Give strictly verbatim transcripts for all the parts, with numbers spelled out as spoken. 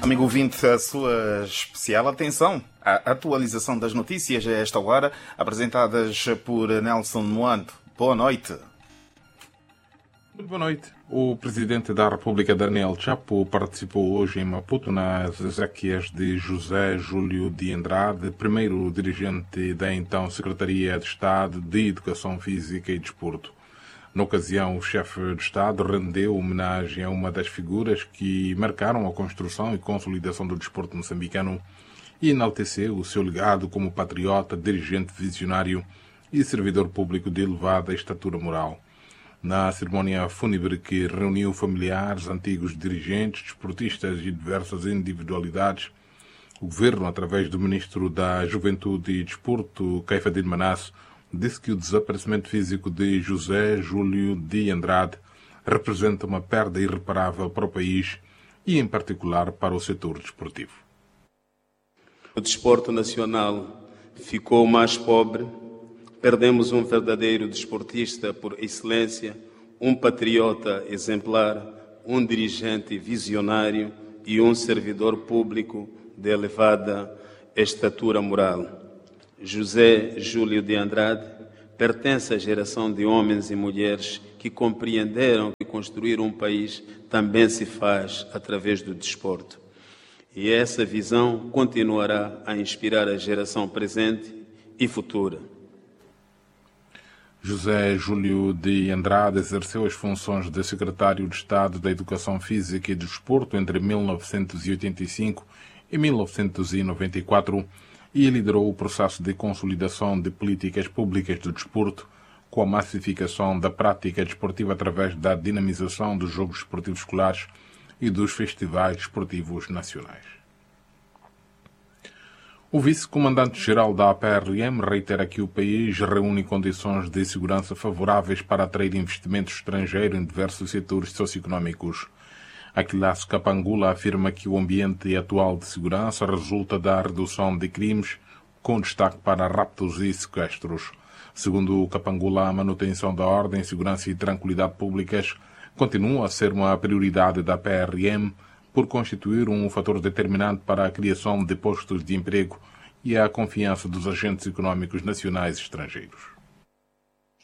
Amigo ouvinte, a sua especial atenção à atualização das notícias a esta hora, apresentadas por Nelson Moando. Boa noite. Muito boa noite. O presidente da República, Daniel Chapo, participou hoje em Maputo nas exéquias de José Júlio de Andrade, primeiro dirigente da então Secretaria de Estado de Educação Física e Desporto. Na ocasião, o chefe de Estado rendeu homenagem a uma das figuras que marcaram a construção e consolidação do desporto moçambicano e enalteceu o seu legado como patriota, dirigente visionário e servidor público de elevada estatura moral. Na cerimónia fúnebre que reuniu familiares, antigos dirigentes, desportistas e diversas individualidades, o governo, através do ministro da Juventude e Desporto, Caifadine Manasso, disse que o desaparecimento físico de José Júlio de Andrade representa uma perda irreparável para o país e, em particular, para o setor desportivo. O desporto nacional ficou mais pobre. Perdemos um verdadeiro desportista por excelência, um patriota exemplar, um dirigente visionário e um servidor público de elevada estatura moral. José Júlio de Andrade pertence à geração de homens e mulheres que compreenderam que construir um país também se faz através do desporto. E essa visão continuará a inspirar a geração presente e futura. José Júlio de Andrade exerceu as funções de Secretário de Estado da Educação Física e Desporto entre mil novecentos e oitenta e cinco e mil novecentos e noventa e quatro e liderou o processo de consolidação de políticas públicas do desporto, com a massificação da prática desportiva através da dinamização dos Jogos Desportivos Escolares e dos Festivais Desportivos Nacionais. O vice-comandante-geral da A P R M reitera que o país reúne condições de segurança favoráveis para atrair investimento estrangeiro em diversos setores socioeconómicos. Aquilas Kapangula afirma que o ambiente atual de segurança resulta da redução de crimes, com destaque para raptos e sequestros. Segundo Kapangula, a manutenção da ordem, segurança e tranquilidade públicas continua a ser uma prioridade da P R M, por constituir um fator determinante para a criação de postos de emprego e a confiança dos agentes económicos nacionais e estrangeiros.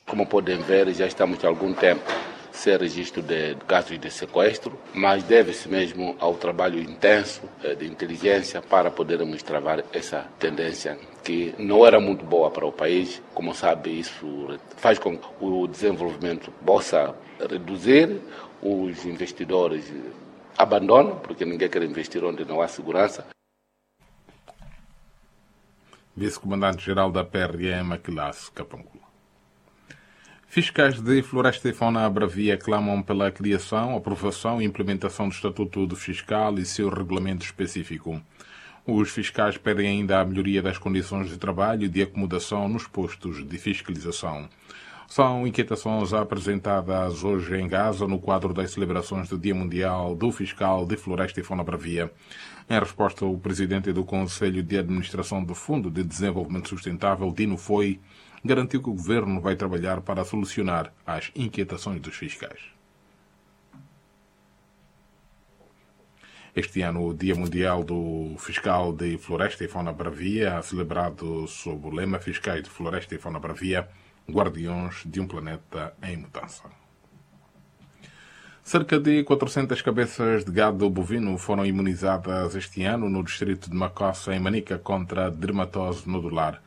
Como podem ver, já estamos há algum tempo sem registro de casos de sequestro, mas deve-se mesmo ao trabalho intenso, eh, de inteligência para podermos travar essa tendência que não era muito boa para o país. Como sabe, isso faz com que o desenvolvimento possa reduzir, os investidores abandonam, porque ninguém quer investir onde não há segurança. Vice-comandante-geral da P R M, Aquilas Kapangula. Fiscais de Floresta e Fauna Bravia clamam pela criação, aprovação e implementação do Estatuto do Fiscal e seu regulamento específico. Os fiscais pedem ainda a melhoria das condições de trabalho e de acomodação nos postos de fiscalização. São inquietações apresentadas hoje em Gaza, no quadro das celebrações do Dia Mundial do Fiscal de Floresta e Fauna Bravia. Em resposta, o presidente do Conselho de Administração do Fundo de Desenvolvimento Sustentável, Dino Foi, garantiu que o governo vai trabalhar para solucionar as inquietações dos fiscais. Este ano, o Dia Mundial do Fiscal de Floresta e Fauna Bravia, celebrado sob o lema Fiscais de Floresta e Fauna Bravia, Guardiões de um Planeta em Mudança. Cerca de quatrocentas cabeças de gado bovino foram imunizadas este ano no distrito de Macossa, em Manica, contra a dermatose nodular.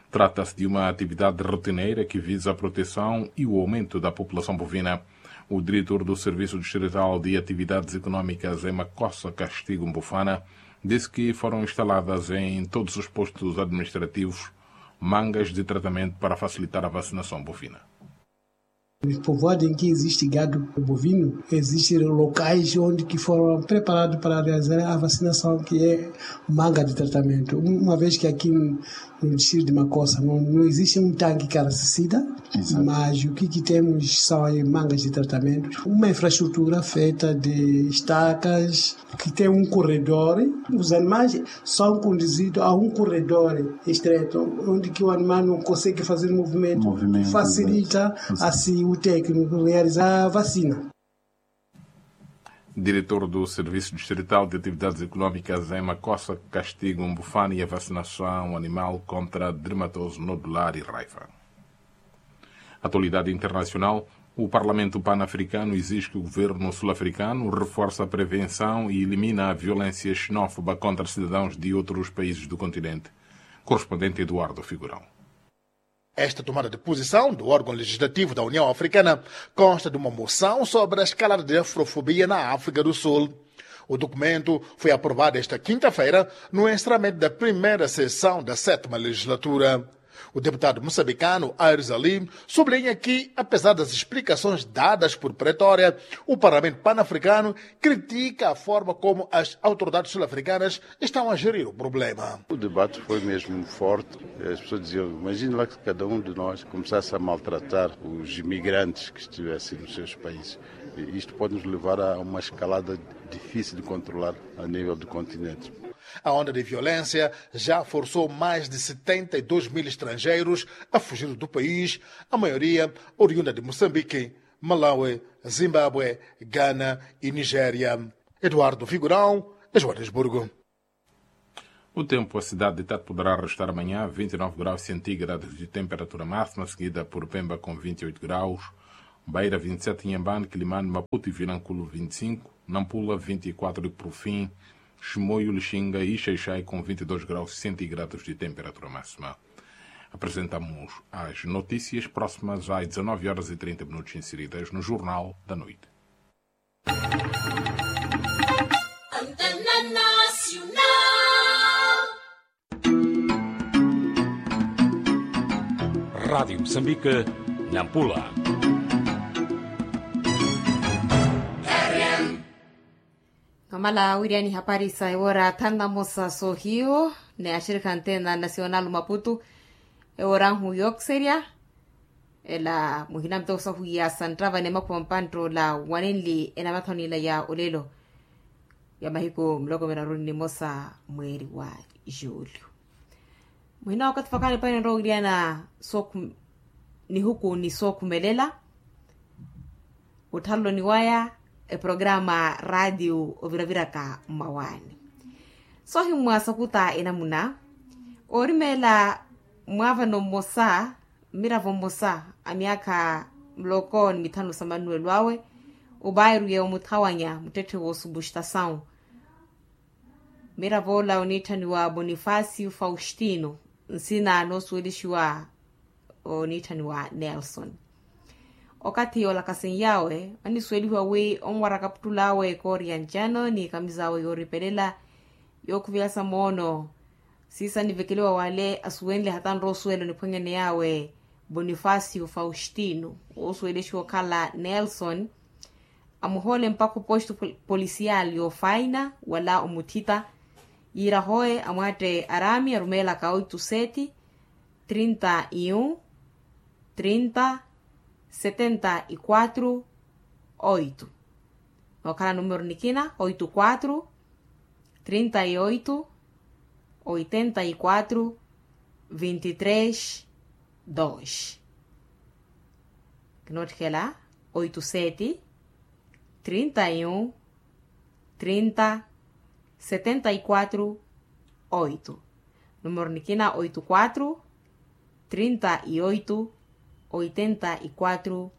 Trata-se de uma atividade rotineira que visa a proteção e o aumento da população bovina. O diretor do Serviço Distrital de Atividades Económicas em Macossa, Castigo Mbufana, disse que foram instaladas em todos os postos administrativos mangas de tratamento para facilitar a vacinação bovina. Nos povoados em que existe gado bovino, existem locais onde que foram preparados para realizar a vacinação, que é manga de tratamento. Uma vez que aqui no, no distrito de Macossa não, não existe um tanque caracicida, mas o que que temos são aí mangas de tratamento, uma infraestrutura feita de estacas, que tem um corredor, os animais são conduzidos a um corredor estreito, onde que o animal não consegue fazer movimento, facilita assim o técnico realizar a vacina. Diretor do servisu distrital de atividades económicas em macosa castigo mbufani ya vacinação animal contra dermatose nodular e raiva. Atualidade internacional. O parlamento panafricano exige que o governo sul-africano reforce a prevenção e elimine a violência xenófoba contra cidadãos de outros países do continente. Correspondente eduardo figurão. Esta tomada de posição do órgão legislativo da União Africana consta de uma moção sobre a escalada de afrofobia na África do Sul. O documento foi aprovado esta quinta-feira no encerramento da primeira sessão da sétima legislatura. O deputado moçambicano Aires Ali sublinha que, apesar das explicações dadas por Pretória, o Parlamento Panafricano critica a forma como as autoridades sul-africanas estão a gerir o problema. O debate foi mesmo forte. As pessoas diziam: imagine lá que cada um de nós começasse a maltratar os imigrantes que estivessem nos seus países. Isto pode nos levar a uma escalada difícil de controlar a nível do continente. A onda de violência já forçou mais de setenta e dois mil estrangeiros a fugir do país, a maioria oriunda de Moçambique, Malawi, Zimbábue, Ghana e Nigéria. Eduardo Figurão, Joanesburgo. O tempo: a cidade de Tete poderá registrar amanhã vinte e nove graus centígrados de temperatura máxima, seguida por Pemba com vinte e oito graus, Beira vinte e sete, Inhambane, Quilimane, Maputo e Vilanculo vinte e cinco, Nampula vinte e quatro e, por fim, Chimoio, Lixinga e Xaixai com vinte e dois graus centígrados de temperatura máxima. Apresentamos as notícias próximas às dezanove horas e trinta minutos, inseridas no Jornal da Noite. Rádio Moçambique, Nampula. Nomala wiriani hapari sa ewora thanu na mosa sohiyo ni axirikha ntena nasional maputu. Ewora nhu yookiserya ela muhina mutoosa hwiya santtava ni emakhuwa mpantta ola wanenli enamathonela ya olelo ya mahiku muloko miraru ni nimosa mweeri wa julho. Muhina wakathi fakaani paini nrowa wiriana nihuku ni sookhumelela. Othaloni waya eprograma radio oviraviraka mmawaani. Soohimmwa sakuta enamuna oorimeela mwaavano mmosa mmiravo mmosa a myaakha muloko ni mithanu sa manuwelo awe. Obairu yeewo muthawanya muttetthe woosupustasawu. Mmiravo ola oniitthaniwa bonifasio faustino nsina noosuwelixiwa oniitthaniwa nelson. Okathi yoolakasenyawe anisuwelihiwa wi onwara kaputtul'awe kooriyanjano ni kamiza awe yooripelela yookhuvelasa moono. Siisa nivekeliwa wale asuwenle hata nrowa osuwela oniphwanyane yawe bonifasio faustino woosuwelexiwa okhala nelson. Amuhoole mpakha oposto polisiyali yoofaina wala omuthita yiira hoye amwaatte araami arumeelaka oito sete trinta e um trinta setenta e quatro oito. Nookhala numero nikina oito quatro trinta e oito oitenta e quatro vinte e três dois. Kinootthikela oito sete trinta e um trinta setenta e quatro oito. Numero nikina oito quatro trinta e oito oitenta e quatro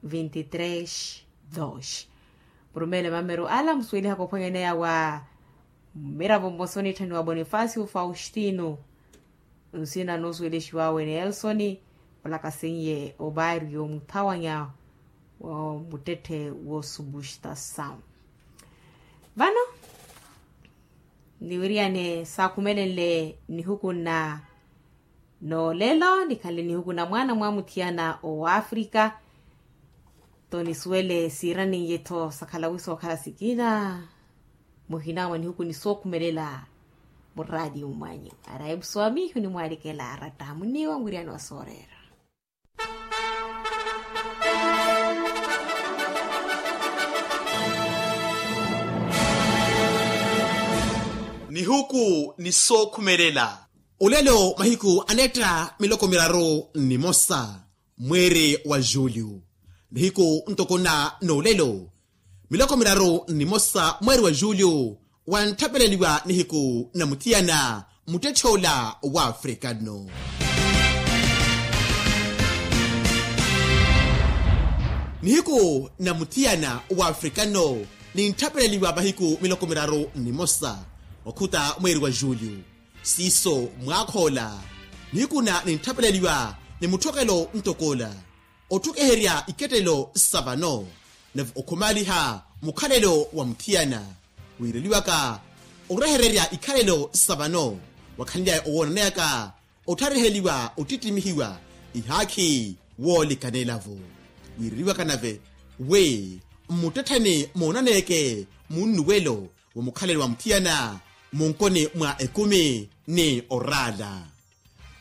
vinte e três dois. Murumele mameru ala musuwelihaka ophwanyaneya wa mmiravo mmosa onitthaniwa bonifasio faustino nsina noosuwelexiwawe nelson olakasenye obairu yoomuthawanya wa muttetthe woosupustasawu. Vano niwiriyane saakhumelenle nihuku nna noolelo nikhanle nihuku na mwaana mwamuthiyana owaafrika. Tho nisuwele siiraniye-tho sakhala wi sookhala sikina muhina mwa nihuku ni sookhumelela muraatiyo mwanyu. Araipu swamihu nimwaalikela aratta muniwa mwiriyani wa sooreera. Nihuku ni sookhumelela. Olelo mahiku anetta miloko miraru ni mosa mweeri wa julho. Nihiku ntoko na noolelo Miloko miraru nnimosa mweeri wa julio, wantthapeleliwa nihiku na muthiyana muttetthe ola wa afrikano. Nihiku na muthiyana wa afrikano nintthapeleliwa mahiku miloko miraru nnimosa, okhuta mweeri wa julio. Siiso mwaakhoola nihiku na nintthapeleliwa ni mutthokelo ntokoola otthukiherya ikettelo sa vano, nave okhumaaliha mukhalelo wa muthiyana. Wiireliwaka orehererya ikhalelo sa vano, wakhanly'aya owoonaneyaka otthariheliwa ottittimihiwa ihaakhi woolikanelavo. Wiireliwaka nave wi mmuttettheni moonaneyeke munnuwelo wa mukhalelo wa muthiyana munkoni mwa ekumi ni oraala.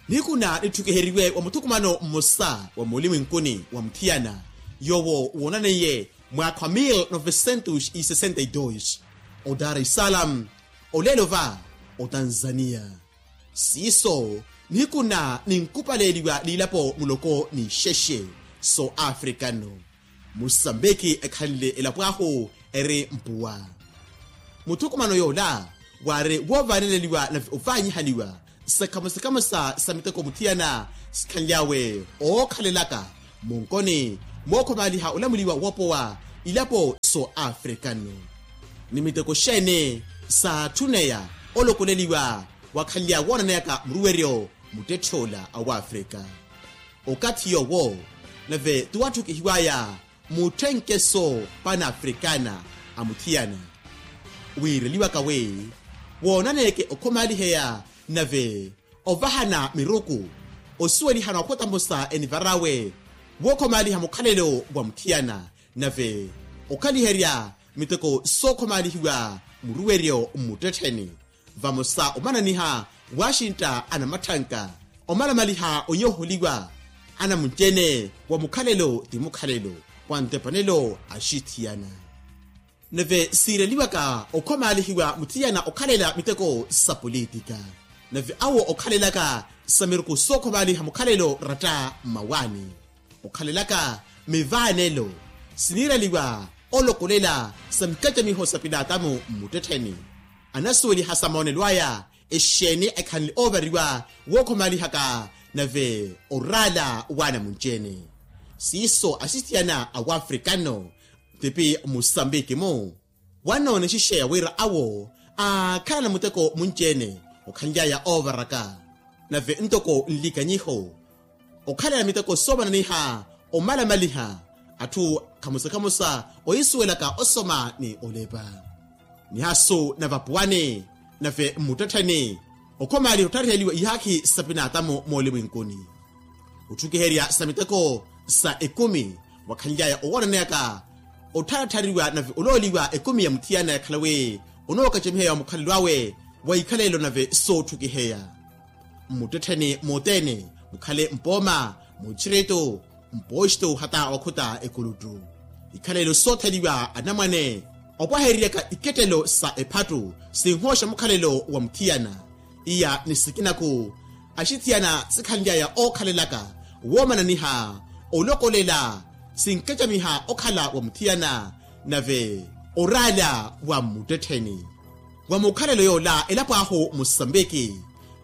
Nihiku na nitthukiheriwe wa muthukumano mmosa wa muulimwenkuni wa muthiyana yoowo woonaneiye mwaakha wa mil novecentos e sessenta e dois, o dar es salaam, oleelo va otanzania. Siiso nihiku na ninkupaleeliwa liilapo muloko ni ixexe so afrikano. Musambiki ekhanle elapo ahu eri mpuwa. Muthukumano yoola waari woovaaneleliwa nave ovaanyihaniwa sikhamusikhamusa sa miteko muthiyana sikhanly'awe ookhalelaka munkoni mookhomaaliha olamuliwa woopowa ilapo so afrikano. Ni miteko xeeni saatthuneya olokoleliwa wakhanly'awe woonaneyaka muruweryo muttetthe ola a wafrika? Okathi yoowo nave tuwatthukihiw'aya mutthenkeso panafrikana a muthiyana. Wiireliwaka wi woonaneyeke okhomaaliheya nave ovahana miruku osuwelihana okhuta mmosa enivar'awe wookhomaaliha mukhalelo wa muthiyana nave okhaliherya miteko sookhomaalihiwa muruweryo mmuttettheni. Vamosa omananiha waaxintta anamatthanka omalamaliha onyoholiwa anamunci-ene wa mukhalelo ti mukhalelo wa ntepanelo axithiyana. Nave siireliwaka okhomaalihiwa muthiyana okhalela miteko sa politika nave awo okhalelaka sa miruku sookhomaaliha mukhalelo ratta mmawaani okhalelaka mivaanelo siniireliwa olokolela sa mikacamiho sa pilaatamu mmuttettheni. Anasuweliha sa moonelo aya exeeni ekhanle oovariwa wookhomalihaka nave oraala waana munci-ene. Siiso axisiyana a wafrikano tipi musambiki-mu wannoona exixeya wira awo aakhalana muteko munci-ene okhanly'aya oovaraka nave ntoko nlikanyiho okhalana miteko soomananiha omalamaliha atthu khamusa khamusa oyisuwelaka osoma ni olepa. Nihaasu na vapuwani nave mmuttettheni okhomaaliha otthariheliwa ihaakhi sa pinaatamu moolimwenkuni otthukiherya sa miteko sa ekumi wakhanly'aya owoonaneyaka ottharatthariwa nave olooliwa ekumi ya muthiyana yakhala wi onookacamiheya wa mukhalelo awe wa ikhalelo nave sootthukiheya. Mmuttettheni mothene mukhale mpooma muchirito mpoxto hata okhuta ekuluttu ikhalelo sootheliwa anamwane opwahereryaka ikettelo sa ephattu sinhooxa mukhalelo wa muthiyana. Iya ni sikinaku axithiyana sikhanly'aya ookhalelaka woomananiha olokolela sinkacamiha okhala wa muthiyana nave oraala wa mmuttettheni. Wa mukhalelo yoola elapo ahu musambiki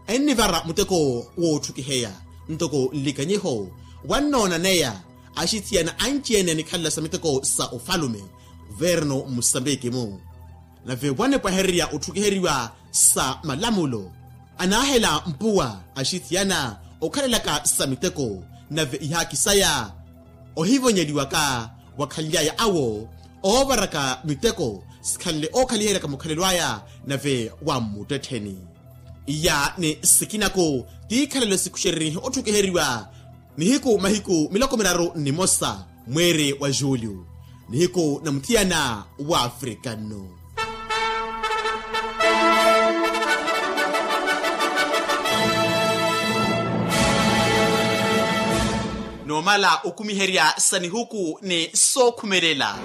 ennivara muteko wootthukiheya ntoko nlikanyiho wannoonaneya axithiyana anci-ene anikhalela sa miteko sa ofalume kuvernu mmusambiki-mu. Nave wanipwahererya otthukiheriwa sa malamulo anaahela mpuwa axithiyana okhalelaka sa miteko nave ihaakhi saya ohivonyeliwaka wakhanly'aya awo oovaraka miteko sikhanle ookhaliheryaka mukhalelo aya nave wa mmuttettheni. Iya ni sikinaku tiikhalelo sikuxererihe otthukiheriwa nihiku mahiku miloko miraru nnimosa mweeri wa julio nihiku na muthiyana wa afrikano. Noomala okumiherya sa nihuku ni sookhumelela